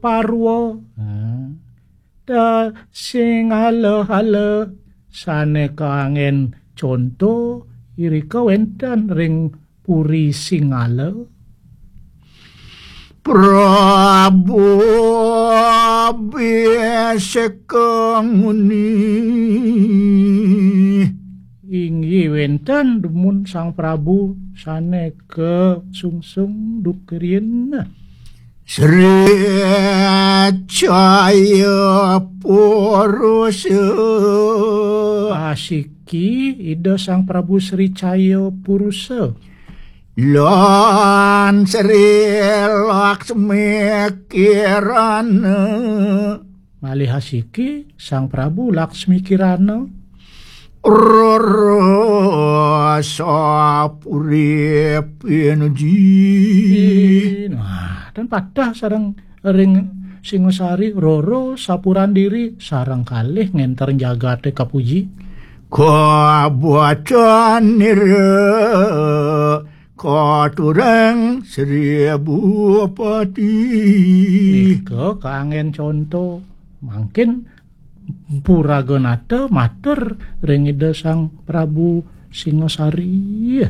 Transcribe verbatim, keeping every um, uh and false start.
Parwa. Nah, da sing ala-ala sane kaangen conto irika wenten ring Puri Singala. Prabu bisik nguni. Inggih wenten dumun Sang Prabu sane kasungsung duk riin. Sri Caya Purusa. Asiki Ida Sang Prabu Sri Caya Purusa. Lan Sri Laksmi Kirana. Malih asiki Sang Prabu Laksmi Kirana. Rara sapuri pinuji. Nah, dan patah sareng ring Singosari, roro sapuran diri sareng kalih ngenter jagate kapuji. Kabatan nira katurang Sri Bupati. Nika kaangen conto. Mangkin Puraganata matur ring Ida Sang Prabu Singosari.